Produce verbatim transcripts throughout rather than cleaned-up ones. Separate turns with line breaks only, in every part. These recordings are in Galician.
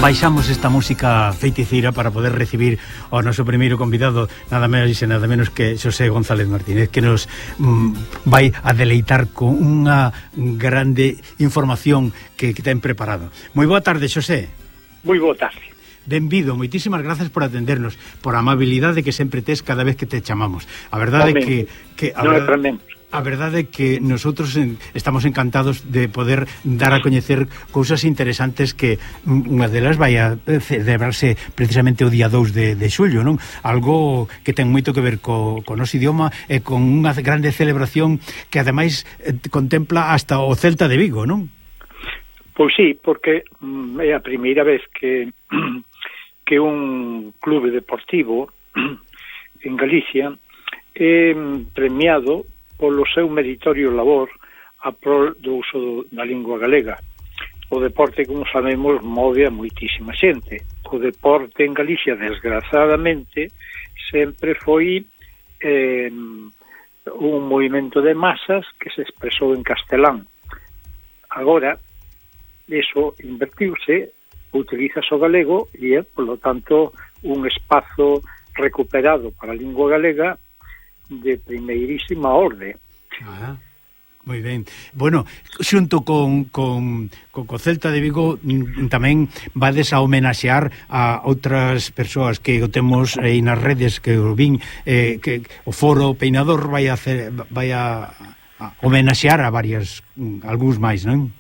baixamos esta música feiticeira para poder recibir ao noso primeiro convidado, nada menos e nada menos que Xosé González Martínez, que nos mm, vai a deleitar con unha grande información que, que ten preparado. Moi boa tarde, Xosé.
Moi boa tarde.
Benvido, moitísimas gracias por atendernos, por a amabilidade que sempre tes cada vez que te chamamos. A verdade é que, que a
non
verdade,
é menos.
A verdade é que nosotros estamos encantados de poder dar a coñecer cousas interesantes que unha delas vai a celebrarse precisamente o día dous de, de xullo, non? Algo que ten moito que ver co, co noso idioma e con unha grande celebración que ademais contempla hasta o Celta de Vigo, non?
Pois sí, porque mm, é a primeira vez que que un clube deportivo en Galicia é premiado polo seu meritorio labor a prol do uso do, da lingua galega. O deporte, como sabemos, move a moitísima xente. O deporte en Galicia, desgrazadamente, sempre foi eh, un movimento de masas que se expresou en castelán. Agora, eso invertiuse, utiliza o galego e é, polo tanto, un espazo recuperado para a lingua galega de primeirísima orde.
Ah, moi ben. Bueno, xunto con, con, con, con Celta de Vigo tamén vades a homenaxear a outras persoas que o temos aí nas redes, que o vin, eh, que o Foro Peinador vai a hacer, vai a, a homenaxear a varias, algúns máis, non?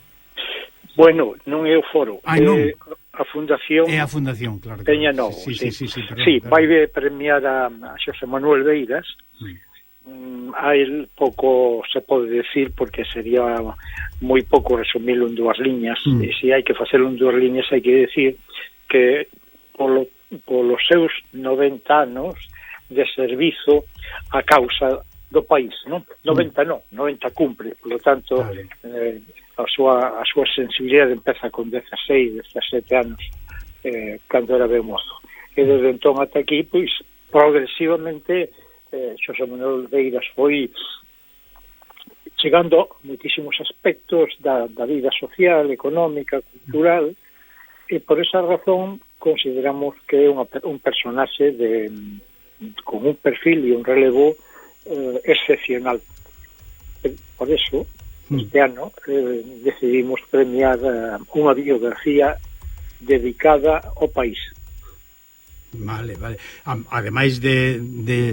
Bueno, non é o Foro,
Ai, non.
é a Fundación.
É a Fundación, claro.
Peña Novo,
sí,
sí.
Sí, sí, sí, perdón,
sí
perdón.
vai premiar a, a Xosé Manuel Beiras. Mm. Mm, a él pouco se pode decir porque sería moi pouco resumilo en dúas liñas. Mm. E se hai que facelo en dúas liñas hai que decir que polo, polos seus noventa anos de servizo a causa do país, non? noventa non, noventa cumpre, polo tanto, vale. eh, a súa a súa sensibilidade empeza con dezaseis, dezasete anos, eh, cando era ben mozo. E desde entón ata aquí, pois, progresivamente, eh, Xosé Manuel Beiras foi chegando a moitísimos aspectos da, da vida social, económica, cultural, e por esa razón consideramos que é unha, un personaxe de, con un perfil e un relevo eh, excepcional. Por eso, este ano eh, decidimos premiar eh, unha biografía dedicada ao país.
Vale, vale. Ademais de, de,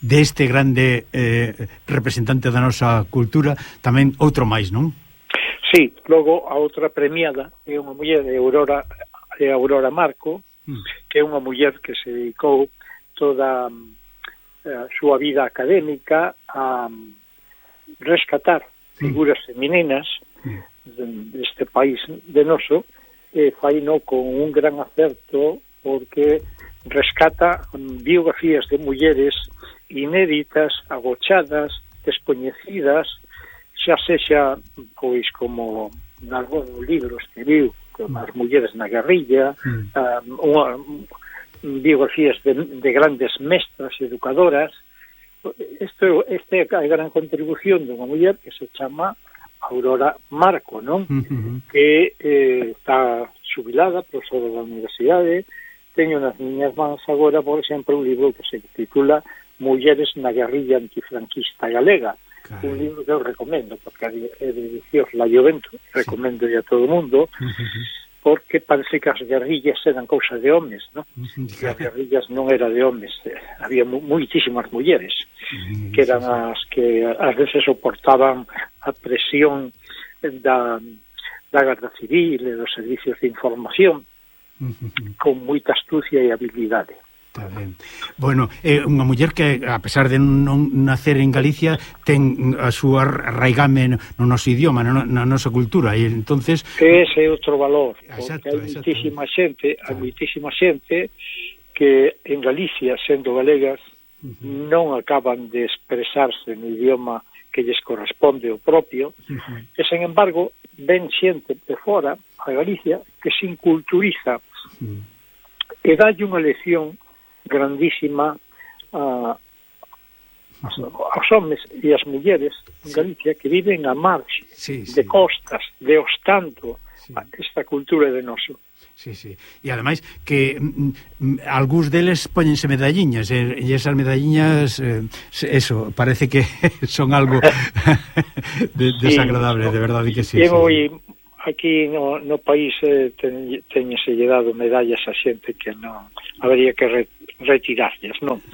de este grande eh, representante da nosa cultura, tamén outro máis, non?
Sí, logo a outra premiada é unha muller de Aurora, de Aurora Marco, mm. que é unha muller que se dedicou toda a súa vida académica a rescatar figuras femininas deste país de noso, e faino con un gran acerto porque rescata biografías de mulleres inéditas, agochadas, descoñecidas, xa sexa, pois, como nalgún libro escribiu, como as mulleres na guerrilla, mm. um, unha, biografías de, de grandes mestras educadoras. Isto, esta é a gran contribución dunha muller que se chama Aurora Marco, non? Uh-huh. Que eh, está xubilada, profesora da universidade. Teño nas miñas mans agora, por exemplo, un libro que se titula Mulleres na guerrilla antifranquista galega. Carai. Un libro que eu recomendo, porque é de edicións La Joventut, recomendo a todo o mundo, uh-huh. porque parece que as guerrillas eran cousa de homes, non? Uh-huh. E as guerrillas non era de homes, había moitísimas mulleres, uh-huh. que eran as que ás veces soportaban a presión da, da Garda Civil e dos servicios de información, uh-huh. con moita astucia e habilidade.
Está ben. Bueno, é unha muller que, a pesar de non nacer en Galicia, ten a súa raigame no noso idioma, na, na nosa cultura, e entonces...
Ese é outro valor,
exacto,
porque hai moitísima xente, hai moitísima xente que en Galicia, sendo galegas, uh-huh. non acaban de expresarse no idioma que lles corresponde o propio, uh-huh. e, sen embargo, ven xente de fora a Galicia que se inculturiza uh-huh. e dalle unha lección grandísima uh, aos homens e as mulleres en Galicia que viven a marxe, sí, sí. de costas, de Ostanto,
sí.
Esta cultura de noso.
Sí, sí. E ademais que mm, algúns deles póñense medalliñas e, e esas medalliñas eh, eso, parece que son algo de, desagradable, sí, de verdade que sí.
E
sí,
moi,
sí.
Aquí no, no país eh, ten, teñese dado medallas a xente que non habría que re, retirarlas, non?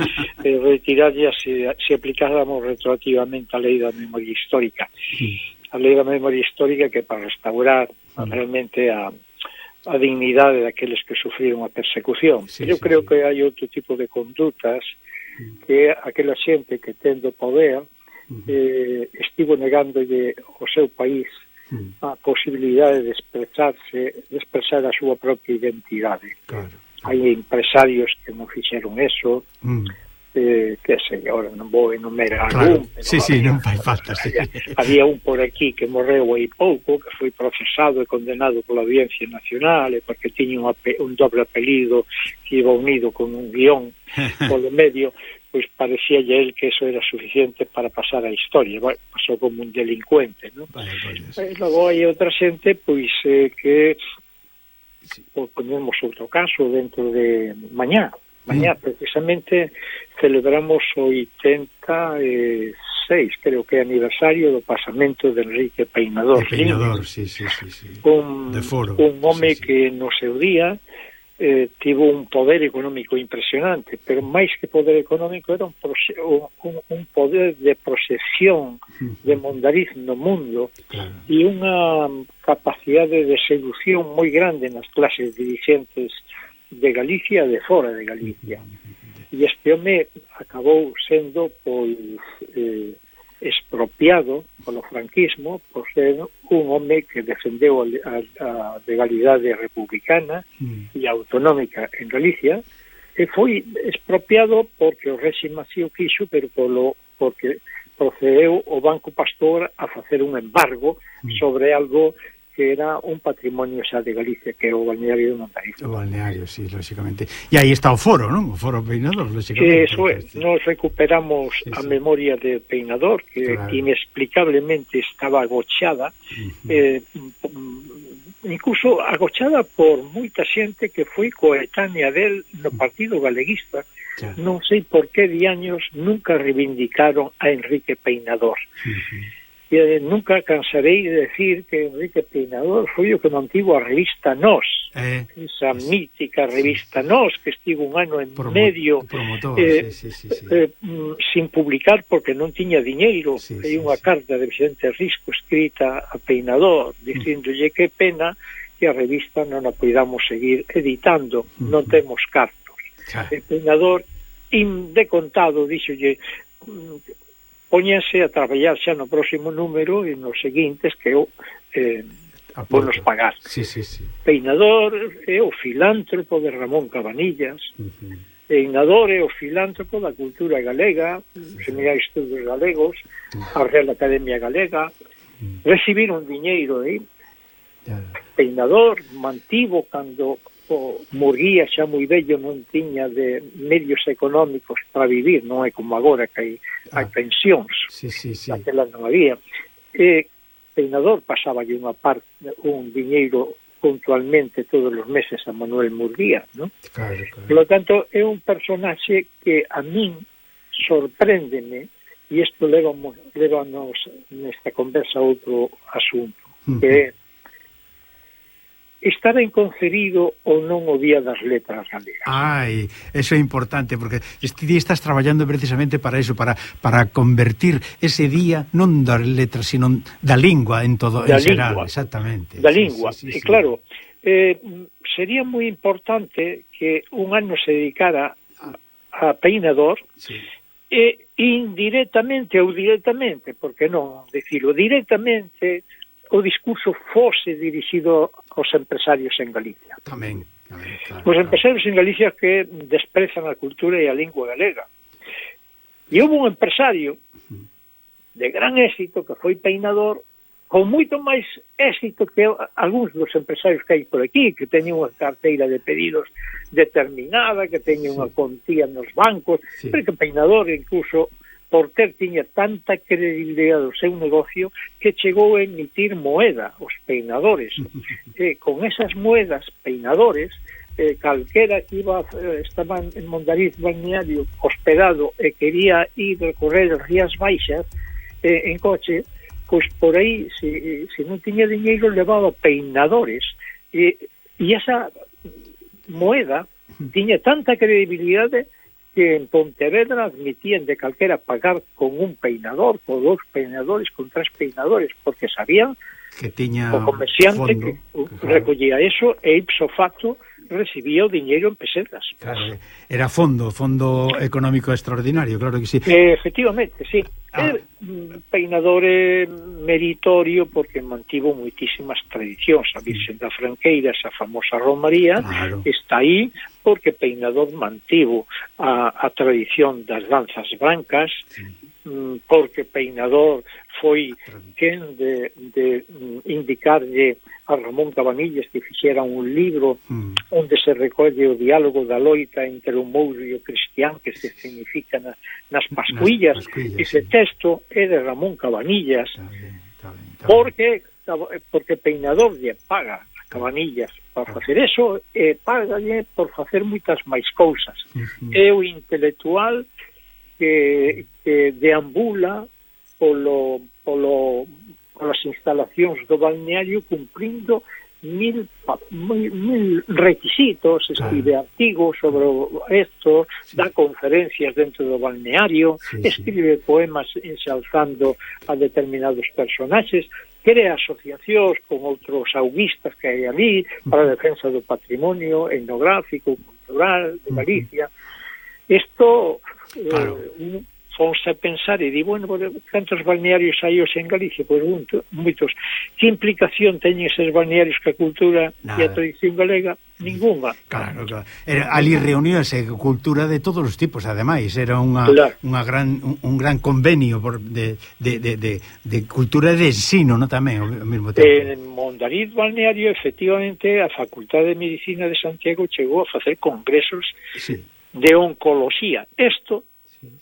eh, retirarlas se, se aplicáramos retroactivamente a lei da memoria histórica. Sí. A lei da memoria histórica que para restaurar sí. realmente a a dignidade daqueles que sufriron a persecución. Sí, eu sí, creo sí. que hai outro tipo de condutas que aquela xente que tendo poder eh, estivo negándolle ao seu país a posibilidade de expresarse, de expresar a súa propia identidade. Claro. Hai empresarios que non fixeron eso, mm. eh, que sei, agora non vou enumerar
claro.
algún, pero
sí, sí, non fai falta, sí.
había, había un por aquí que morreu aí pouco, que foi procesado e condenado pola Audiencia Nacional, e porque tiña un, un doble apelido que iba unido con un guión polo medio, pois parecíalle el que eso era suficiente para pasar a historia. Bueno, pasou como un delincuente, non? Vale, vale. E logo hai outra xente, pois, eh, que sí. Pois, ponemos outro caso dentro de mañá. Mañá, sí. Precisamente, celebramos o oitenta e seis, creo que é aniversario do pasamento de Enrique Peinador.
De Peinador, sí, sí, sí, sí.
Un,
de foro.
Un home sí, sí. que no seu día eh, tivo un poder económico impresionante, pero máis que poder económico era un, un, un poder de proxección de mondariz no mundo claro. E unha capacidade de seducción moi grande nas clases dirigentes de Galicia e de fora de Galicia. E este home acabou sendo pois eh, expropiado polo franquismo por ser un home que defendeu a, a, a legalidade republicana mm. e autonómica en Galicia, e foi expropiado porque o réxime así o quixo, pero polo, porque procedeu o Banco Pastor a facer un embargo mm. sobre algo que era un patrimonio xa de Galicia, que é o balneario de Mondariz.
O balneario, sí, lógicamente. E aí está o foro, non? O foro Peinador, lógicamente.
Eso é, sí. Nos recuperamos sí, sí. a memoria de Peinador, que claro. Inexplicablemente estaba agochada, uh-huh. eh, incluso agochada por moita xente que foi coetánea del no Partido Galeguista. Claro. Non sei por que diaños nunca reivindicaron a Enrique Peinador. Uh-huh. E nunca cansarei de decir que Enrique Peinador foi o que mantivo a revista Nós, eh, esa es, mítica revista sí, Nós, que estivo un ano en promo, medio promotor, eh, sí, sí, sí, sí. Eh, sin publicar porque non tiña diñeiro. Sí, hai sí, unha sí. carta de Vicente Risco escrita a Peinador dicíndolle mm. que pena que a revista non a podamos seguir editando, mm. non temos cartos. Ah. E Peinador, indecontado, díxolle póñense a traballar xa no próximo número e nos seguintes que eu eh, vou nos pagar.
Sí, sí, sí.
Peinador é o filántropo de Ramón Cabanillas, uh-huh. Peinador é o filántropo da cultura galega, uh-huh. Seminario de Estudos Galegos, uh-huh. a Real Academia Galega, uh-huh. recibiron diñeiro aí. Uh-huh. Peinador mantivo cando o Murguía xa moi bello non tiña de medios económicos para vivir, non é como agora que hai, ah, hai pensións,
sí, sí, sí.
Aquela non había. E Peinador pasaba unha parte, un diñeiro puntualmente todos os meses a Manuel Murguía, non? Claro, claro. Por lo tanto, é un personaxe que a min sorpréndeme, e isto levanos, levanos nesta conversa a outro asunto, uh-huh. que é está ben concebido ou non o Día das Letras Galegas.
Ai, eso é importante, porque este día estás traballando precisamente para eso, para para convertir ese día non das letras, sino da lingua en todo, en xeral, exactamente.
Da lingua, sí, sí, sí, e claro, eh, sería moi importante que un ano se dedicara a, a Peinador, sí. E indirectamente ou directamente, porque non decirlo directamente, o discurso fose dirixido aos empresarios en Galicia.
Tamén. tamén claro,
os empresarios claro. en Galicia que desprezan a cultura e a lingua galega. E houve un empresario de gran éxito que foi Peinador, con moito máis éxito que algúns dos empresarios que hai por aquí, que teñen unha carteira de pedidos determinada, que teñen sí. unha contía nos bancos, sí. pero que Peinador incluso Porter tiña tanta credibilidade do seu negocio que chegou a emitir moeda, os peinadores. E con esas moedas peinadores, eh, calquera que iba, eh, estaba en Mondariz balneario hospedado e quería ir recorrer as Rías Baixas eh, en coche, pois por aí, se, se non tiña diñeiro, levaba peinadores. E, e esa moeda tiña tanta credibilidade que en Pontevedra admitían de calquera pagar con un peinador, con dos peinadores, con tres peinadores, porque sabían
que tiña
o comerciante
fondo,
que
claro,
recollía eso e ipso facto recibía o diñeiro en pesetas.
Claro, era fondo, fondo económico extraordinario, claro que sí.
Eh, efectivamente, sí.
Ah.
É un peinador eh, meritorio porque mantivo moitísimas tradicións. A Virxen da Franqueira, esa famosa romaría,
claro,
está aí porque peinador mantivo a, a tradición das danzas brancas, sí, porque peinador foi quen de, de indicarlle a Ramón Cabanillas que fixera un libro mm. onde se recolle o diálogo da loita entre o mouro e o cristián que se significa na, nas pascuillas. Nas pascuillas, ese sí, texto é de Ramón Cabanillas, está bien, está bien, está porque porque peinador lle paga a Cabanillas para facer eso e págalle por facer moitas máis cousas. Uh-huh. É o intelectual que, que deambula polo, polo, polas instalacións do balneario cumprindo mil, mil, mil requisitos, escribe claro, artigos sobre esto, sí, dá conferencias dentro do balneario, sí, escribe sí, poemas ensalzando a determinados personaxes, crea asociacións con outros auguistas que hai ali para a defensa do patrimonio etnográfico, cultural de Galicia. Isto claro, eh, fonse a pensar e di, bueno, cantos balnearios hai hoxe en Galicia? Pois pues, moitos. Que implicación teñen eses balnearios que a cultura nada, e a tradición galega? Ninguna.
Claro, claro. Era, ali reuníase cultura de todos os tipos, ademais. Era unha, claro, unha gran, un, un gran convenio por, de, de, de, de, de cultura e de ensino, no tamén, ao mesmo tempo.
En Mondariz balneario, efectivamente, a Facultade de Medicina de Santiago chegou a facer congresos, sí, de oncología. Isto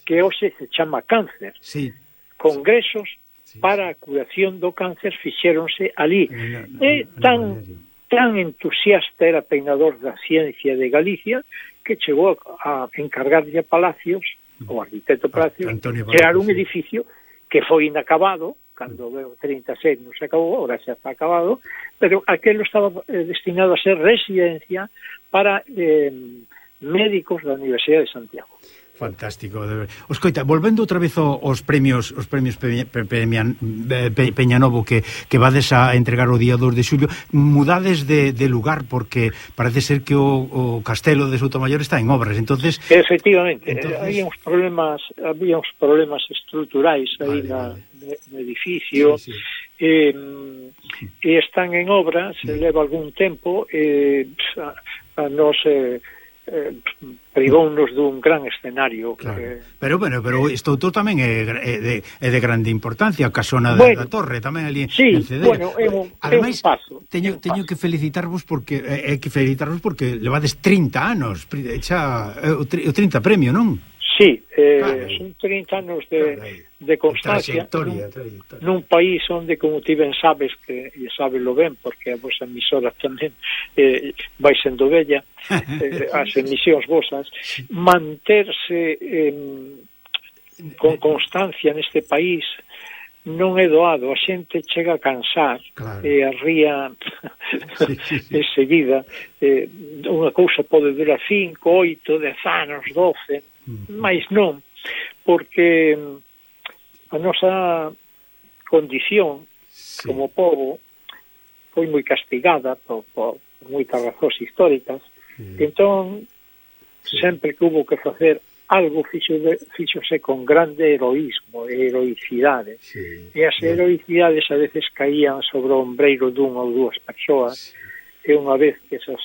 que hoxe se chama cáncer. Sí. Congresos, sí, para a curación do cáncer fixéronse ali. No, no, e tan, tan entusiasta era peinador da ciencia de Galicia que chegou a encargarlle a Palacios, o arquitecto Palacios, crear un edificio que foi inacabado, cando o trinta e seis non se acabou, ahora xa está acabado, pero aquelo estaba eh, destinado a ser residencia para eh, médicos da Universidade de Santiago.
Fantástico, de ver. Escoita, volvendo outra vez aos premios os premios Pe, Pe, Pe, Pe, Peñanovo que, que vades a entregar o día dos de xullo, mudades de, de lugar porque parece ser que o, o castelo de Soutomaior está en obras, entonces
efectivamente,
entonces...
había uns problemas había uns problemas estruturais aí vale, na, vale, no edificio, sí, sí, eh, e están en obras, se sí, leva algún tempo e a, a nos eh, Eh, privounos dun gran escenario, claro, que...
pero bueno, pero isto outro tamén é, é, de, é de grande importancia, a casona bueno, da, da torre tamén ali
sí,
en Cedera.
Bueno, é un,
ademais,
é un paso
teño,
un
teño
paso.
que felicitarvos porque é que felicitarvos porque levades trinta anos xa, o trinta premio, non?
Sí, eh, claro, son trinta anos de, de constancia nun, nun país onde, como ti ben sabes, que e sábelo ben, porque a vosa emisora tamén eh, vai sendo bella, eh, as emisións vosas, manterse eh, con constancia neste país non é doado, a xente chega a cansar, claro, e a ría sí, sí, sí, enseguida, eh, unha cousa pode durar cinco, oito, dez anos, doce, mais non, porque a nosa condición, sí, como pobo foi moi castigada por, por moitas razóns históricas, sí, entón sí, sempre que hubo que facer algo fixo de, fixose con grande heroísmo e heroicidade, sí, e as heroicidades a veces caían sobre o ombreiro dunha ou dúas persoas, sí, e unha vez que esas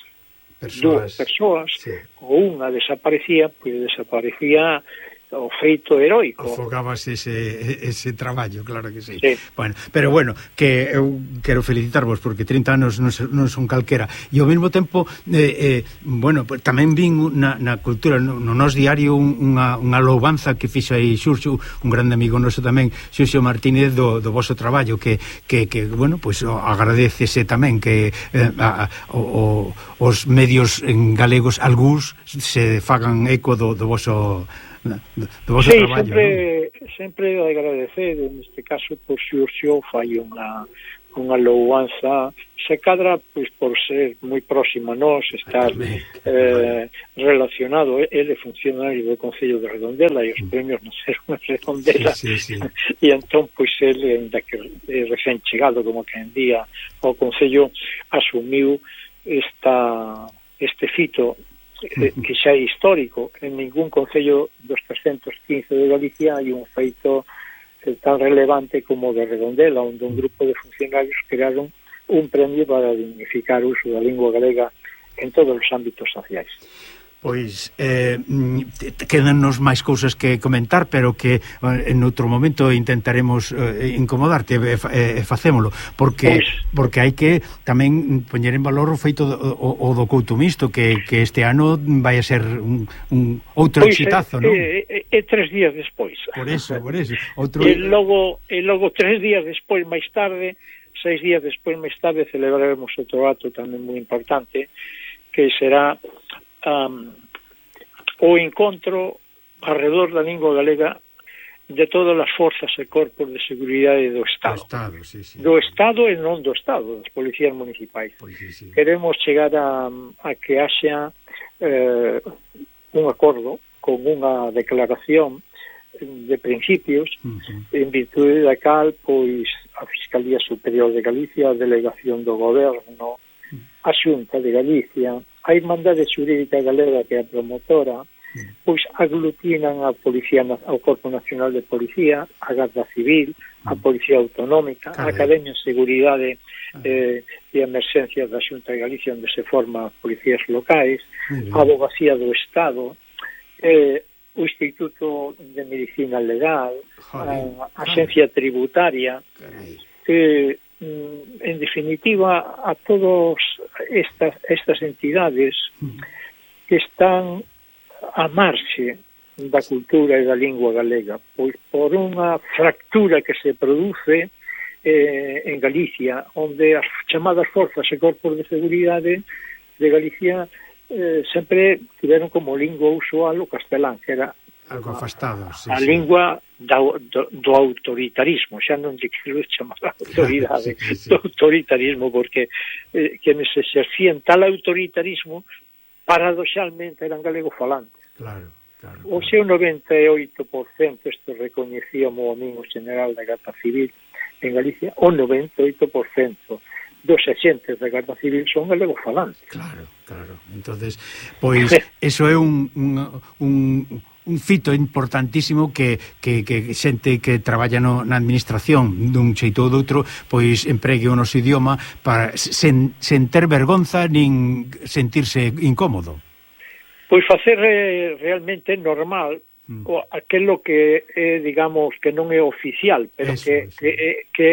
persoas, dúas persoas, sí, ou unha desaparecía, pois desaparecía o feito heroico.
Afogabas ese, ese traballo, claro que sí.
Sí.
Bueno, pero bueno, que eu quero felicitarvos porque trinta anos non, non son calquera. E ao mesmo tempo, eh, eh, bueno, pues, tamén vin na, na cultura, no, no nos diario unha, unha loubanza que fixo aí Xurxo, un grande amigo noso tamén, Xurxo Martínez, do, do voso traballo, que, que, que bueno, pues agradecese tamén que eh, a, o, os medios en galegos, algúns, se fagan eco do, do voso... do vosso
sí,
traballo,
sempre,
¿no?
sempre agradecer, neste caso, por Xurxo fai unha unha louanza, se cadra pois por ser moi próximo a nós, estar eh, relacionado, ele é funcionario do Concello de Redondela e os premios non serán en Redondela,
sí, sí, sí.
E entón pois ele, ainda que é recén chegado como que en día ao Concello, asumiu esta este fito eh, que xa é histórico. En ningún concello dos trescentos quince de Galicia hai un feito eh, tan relevante como de Redondela, onde un grupo de funcionarios crearon un premio para dignificar o uso da lingua galega en todos os ámbitos sociais.
Pois eh, quedannos máis cousas que comentar, pero que eh, en outro momento intentaremos eh, incomodarte e eh, facémolo, porque pois, porque hai que tamén poñer en valor o feito do, o, o do Couto Misto, que, que este ano vai a ser un, un outro
pois
exitazo,
é,
non?
É, é, é tres días despois.
Por eso, por eso. Outro...
E logo, e logo tres días despois, máis tarde, seis días despois, máis tarde, celebraremos outro ato tamén moi importante, que será Um, o encontro alrededor da lingua galega de todas as forzas e corpos de seguridade do Estado. Do
Estado, sí, sí.
Do Estado e non do Estado, das policías municipais.
Pois, sí, sí.
Queremos chegar a, a que haxa eh, un acordo con unha declaración de principios, uh-huh, en virtude da cal, pois, a Fiscalía Superior de Galicia, a Delegación do Goberno, a Xunta de Galicia, a Irmandade Xurídica Galega, que é a promotora, pois aglutinan a Policía, ao Corpo Nacional de Policía, a Garda Civil, a Policía Autonómica, a Academia de Seguridade eh, e Emerxencias da Xunta de Galicia, onde se forman policías locais, a Abogacía do Estado, eh, o Instituto de Medicina Legal, a Axencia Tributaria, que en definitiva a todas estas estas entidades que están a marxe da cultura e da lingua galega, pois por unha fractura que se produce eh, en Galicia, onde as chamadas forzas e corpos de seguridade de Galicia eh, sempre tiveron como lingua usual o castelán, que era
algo afastado, sí,
a
sí.
lingua do, do, do autoritarismo, xa non lle quero chamar a autoridade, sí, sí, sí. do autoritarismo, porque eh, quienes exercían tal autoritarismo paradoxalmente eran galego falantes.
Claro, claro, claro.
O seu noventa e oito por cento, isto recoñecía o amigo general da Garda Civil en Galicia, o noventa e oito por cento dos agentes da Garda Civil son galego falantes.
Claro, claro. Entonces, pois, eso é un, un, un un fito importantísimo que, que, que xente que traballa no, na administración dun xeito ou doutro, pois empregue o noso idioma para sen, sen ter vergonza nin sentirse incómodo.
Pois facer eh, realmente normal mm. o, aquelo que é, digamos, que non é oficial, pero eso, que, sí. que, que,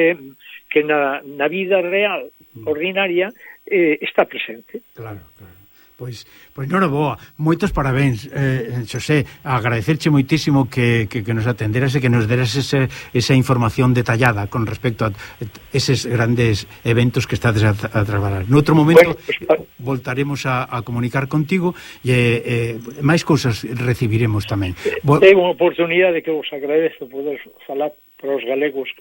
que na, na vida real, mm. ordinaria, eh, está presente.
Claro, claro. Pois, pois non é boa, moitos parabéns, eh, Xosé, agradecerche moitísimo que, que, que nos atenderas e que nos deras ese, esa información detallada con respecto a eses grandes eventos que estades a, a traballar. Noutro momento, bueno, pues, voltaremos a, a comunicar contigo e eh, máis cousas recibiremos tamén.
É unha oportunidade que vos agradezo poder falar para os galegos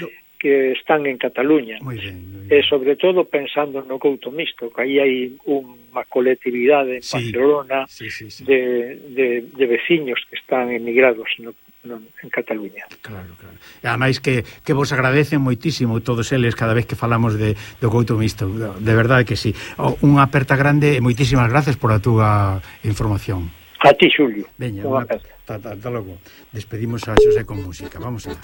no. que están en Cataluña.
Muy bien, muy bien.
E sobre todo pensando no Couto Misto, que aí hai unha colectividade en sí, Barcelona
sí, sí, sí.
De, de, de veciños que están emigrados no, no, en Cataluña.
Claro, claro. E ademais que, que vos agradecen moitísimo todos eles cada vez que falamos de, do Couto Misto. De verdade que sí. Unha aperta grande e moitísimas gracias por a túa información.
A ti, Xulio.
Veña, unha, ta, ta, ta logo. Despedimos a Xosé con música. Vamos a